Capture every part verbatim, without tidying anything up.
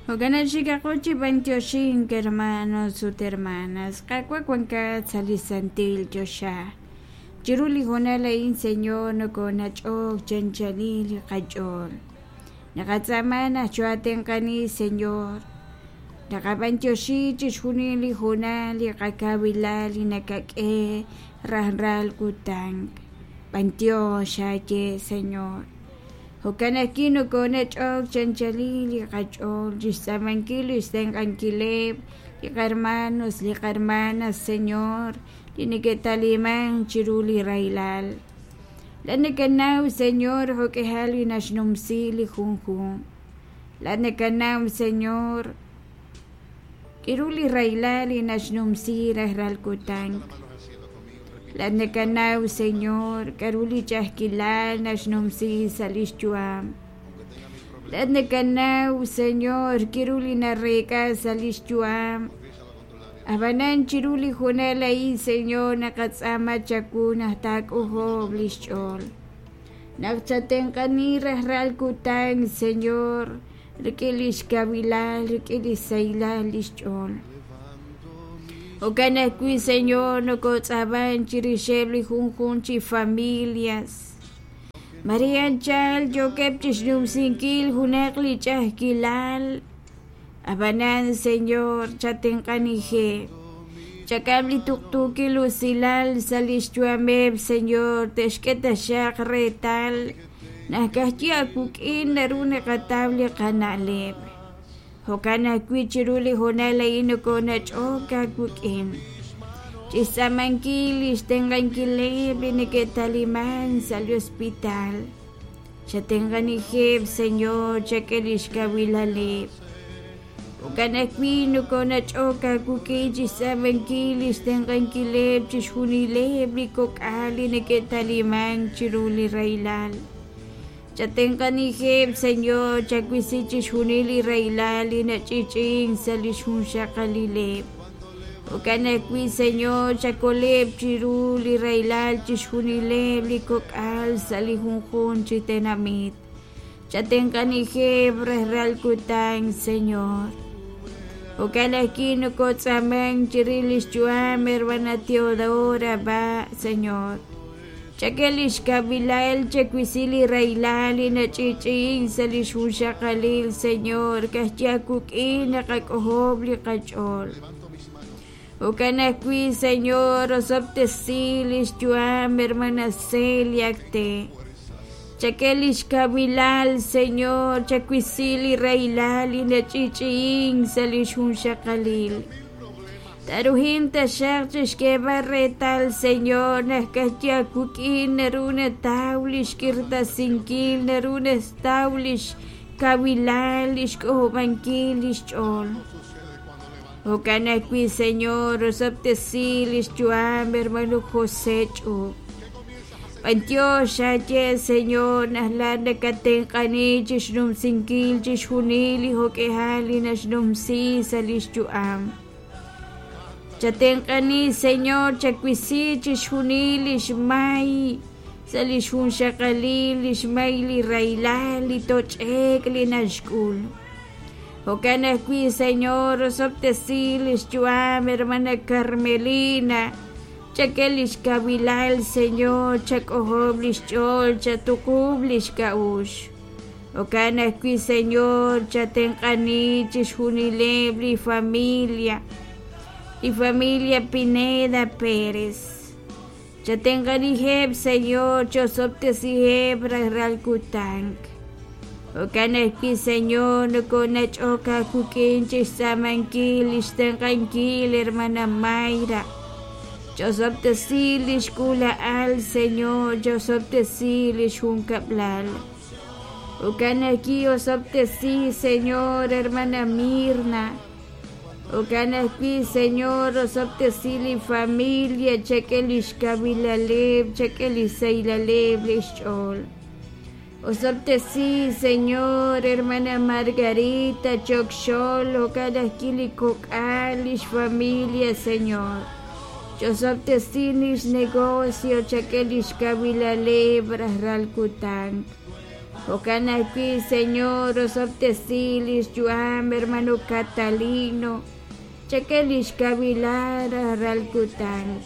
Jo'kan xikaqo chi b'antioxink hermanos ut hermanas Qaawa' wankat sa' li santil choxa chiru li hoonal a'in Señor nokonach'ok chanchalil li qach'ool naqatz'aama naq choatenq'ani Señor naqab'antioxi chixjunil li hoonal li qakawilal li nakak'e rajlal kutan b'antiox aaye Señor jo'kan ajwi' nokonach'ok chanchalil li qach'ool chixtz'aamankil li xtenq'ankileb' li qarmanos li qarmanas Señor li neke'taliman chiru li rahilal laa'at nakanaw Señor jo'k'ihal li naxnumsi li junjunq laa'at nakanaw Señor k'iru li rahilal li naxnumsi rajlal kutan laa'at nakanaw Señor k'a'ru li ch'a'ajkilal naxnumsi sa' lix yu'am laa'at nakanaw Señor k'iru li nareek'a sa' lix yu'am ab'anan chiru li hoonal a'in Señor naqatz'aama chawu naq taak'ojob' lix ch'ool naq chatenq'ani rajlal kutan Señor rik'in lix kawilal rik'in li sahilal lix ch'ool jo'kan ajwi' Señor nokotz'aaman chirixeb' li junjunq chi familias Maria anchal yookeb' chixnumsinkil junaq li ch'a'ajkilal ab'anan Señor chatenq'anijeb' chak'am li tuqtuukil usilal sa' lix yu'ameb' Señor te'xk'e taxaq reetal naq ka'ajwi' aawik'in naru naqataw li qana'leb' jo'kan ajwi' chiru li hoonal a'in nokonach'ok aawik'in chixtz'aamankil li xtenq'ankileb' li neke'taliman sa' li hospital chatenq'anijeb' Señor chak'e lix kawilaleb' jo'kan ajwi' nokonach'ok aawik'in chixtz'aamankil li xtenq'ankileb' chixjunileb' li kok'al li neke'taliman chiru li rahilal chatenq'anijeb' Señor chawisi chixjunil li rahilal li nach'i'ch'i'ink sa' lix junxaqalileb' jo'kan ajwi' Señor chakoleb' chiru li rahilal chixjunileb' li kok'al sa' li junjunq chi tenamit chatenq'anijeb' rajlal kutan Señor jo'kan ajwi' nokotz'aaman chirix lix yu'am hermana Teodora va Señor chak'e lix kawilal chawisi li rahilal li nach'i'ch'i'ink sa' lix junxaqalil Señor ka'ajwi' aawik'in naqak'ojob' li qach'ool jo'kan ajwi' Señor osob'tesi lix yu'am hermana Celia Acte chak'e lix kawilal Señor chawisi li rahilal li nach'i'ch'i'ink sa' lix junxaqalil taruhin taxaq chixk'eeb'al reetal Señor naq ka'ajwi' aawik'in naru nataw lix k'irtasinkil naru nataw lix kawilal lix k'ojob'ankil lix ch'ool jo'kan ajwi' Señor osob'tesi lix yu'am hermano José Ch'ub b'antiox aaye Señor naq laa'at nakatenq'ani chixnumsinkil chixjunil li jo'k'ihal li naxnumsi sa' lix yu'am chatenq'ani Señor chawisi chixjunil lix may sa' lix junxaqalil lix may li rahilal li toch'ek li naxk'ul jo'kan ajwi' Señor osob'tesi lix yu'am hermana Carmelina chak'e lix kawilal Señor chak'ojob' lix ch'ool chatuqub' lix k'a'uxl jo'kan ajwi' Señor chatenq'ani chixjunileb' li familia li familia Pineda Pérez chatenq'anijeb' Señor chosob'tesiheb' rajlal kutan jo'kan ajwi' Señor nokonach'ok aawik'in chixtz'aamankil lix tenq'ankil hermana Mayra chosob'tesi lix k'uula'al Señor chosob'tesi lix junkab'lal jo'kan ajwi' osob'tesi Señor hermana Mirna jo'kan ajwi' Señor osob'tesi li familia chak'e lix kawilaleb' chak'e li sahilaleb' lix ch'ool osob'tesi Señor hermana Margarita Chokxol jo'kan ajwi' li kok'al lix familia Señor chosob'tesi lix negocio chak'e lix kawilaleb' rajlal kutan Jo'kan ajwi', Señor, osob'tesi lix yu'am hermano Catalino, chak'e lix kawilal rajlal kutan.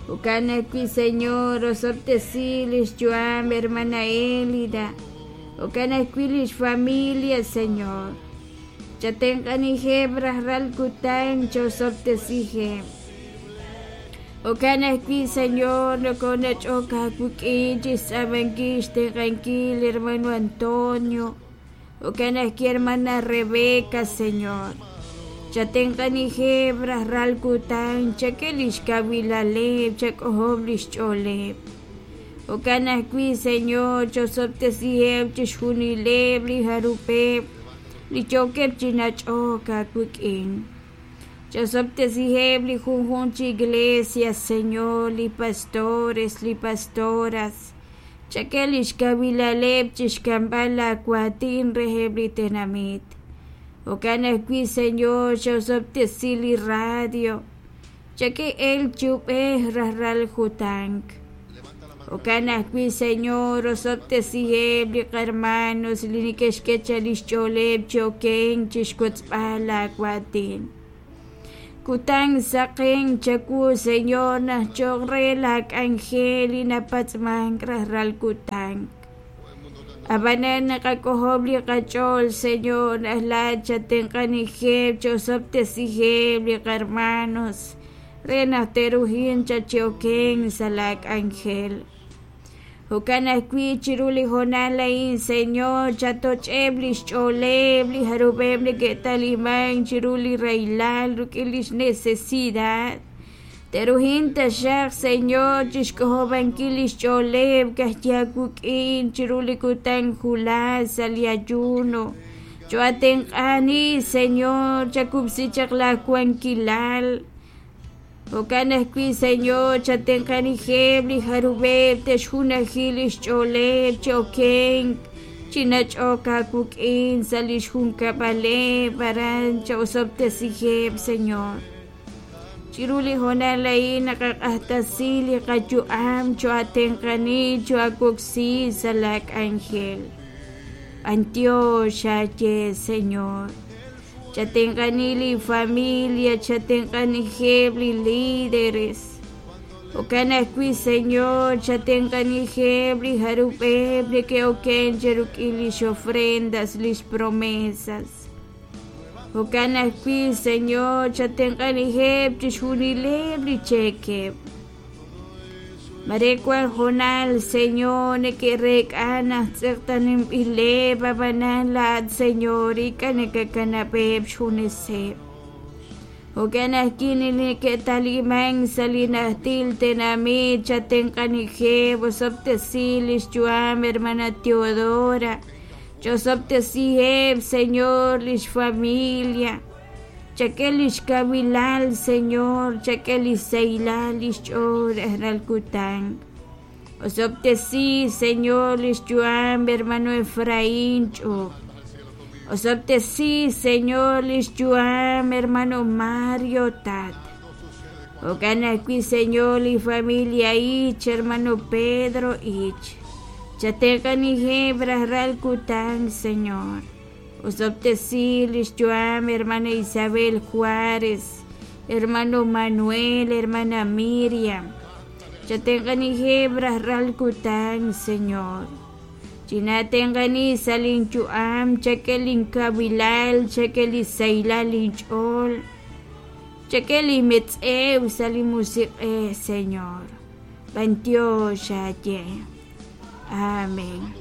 Jo'kan ajwi', Señor, osob'tesi lix yu'am hermana Elida, jo'kan ajwi' lix familia, Señor. Chatenq'anijeb' rajlal kutan, chosob'tesijeb'. Jo'kan ajwi', Señor, nokonach'ok aawik'in chixtz'aamankil xtenq'ankil hermano Antonio, jo'kan ajwi' hermana Rebeca, Señor. Chatenq'anijeb' rajlal kutan, chak'e lix kawilaleb', chak'ojob' lix ch'ooleb'. Jo'kan ajwi', Señor, chosob'tesiheb' chixjunileb' li jarub'eb' li yookeb' chi nach'ok aawik'in. Chosob'tesiheb' li junjunq chi iglesia, Señor, li pastores, li pastoras. Chak'e lix kawilaleb' chixk'amb'al laawaatin reheb' li tenamit. Jo'kan ajwi', Señor, chosob'tesi li radio. Chak'e elk chi ub'ej rajlal kutan. Jo'kan ajwi', Señor, osob'tesiheb' li qarmanos li neke'xk'e chaq lix ch'ooleb' chi okenk chixwotzb'al laawaatin. Kutan saqen chawu, Señor, naq choq' re laak'anjel li napatz'mank rajlal kutan. Ab'anan naqak'ojob' li qach'ool, Señor, naq laa'at chatenq'anijeb' chosob'tesiheb' li qarmanos re naq te'rujin chaq chi okenk sa' laak'anjel. Jo'kan ajwi' chiru li hoonal a'in, Señor, chatoch'eb' lix ch'ooleb' li jarub'eb' neke'talimank chiru li rahilal rik'in lix necesidad. Te'rujin taxaq, Señor, chixk'ojob'ankil lix ch'ooleb' ka'ajwi' aawik'in chiru li kutan wulaj sa' li ayuno. Cho'atenq'ani, Señor, chakub'si chaq laawankilal. Jo'kan ajwi', Señor, chatenq'anijeb' li jarub'eb' te'xjunaji lix ch'ooleb' chi okenk chi nach'ok aawik'in sa' lix junkab'aleb' aran cha'osob'tesiheb', Señor. Chiru li hoonal a'in naqaq'axtesi li qayu'am cho'atenq'ani cho'awoksi sa' laak'anjel. B'antiox aaye, Señor. Chatenq'ani li familia, chatenq'anijeb' li líderes. Jo'kan ajwi', Señor, chatenq'anijeb' li jarub'eb' neke'oken cheruk'in lix ofrendas, lix promesas. Jo'kan ajwi', Señor, chatenq'anijeb' chixjunileb' li cheekeb'. Mare wan hoonal, Señor, neke'reek'a naq tz'eqtaninb'ileb' ab'anan laa'at, Señor, ink'a' nakakanab'eb' xjuneseb'. Jo'kan ajwi' li neke'talimank sa' li najtil tenamit chatenq'anijeb' osob'tesi lix yu'am hermana Teodora, chosob'tesiheb', Señor, lix familia. Chak'e lix kawilal, Señor, chak'e lix sahilal lix ch'ool rajlal kutan. Osob'tesi, Señor, lix yu'am hermano Efraín Ch'up. Osob'tesi, Señor, lix yu'am hermano Mario Tat. Jo'kan ajwi', Señor, li familia Ich, hermano Pedro Ich. Chatenq'anijeb' rajlal kutan, Señor. Osob'tesi lix yu'am hermana Isabel Juárez, hermano Manuel, hermana Miriam. Chatenq'anijeb' rajlal kutan, Señor. Chinatenq'ani sa' linyu'am, chak'e linkawilal, chak'e li sahilal linch'ool, chak'e li metz'ew sa' li musiq'ej, Señor. B'antiox aaye. Amén.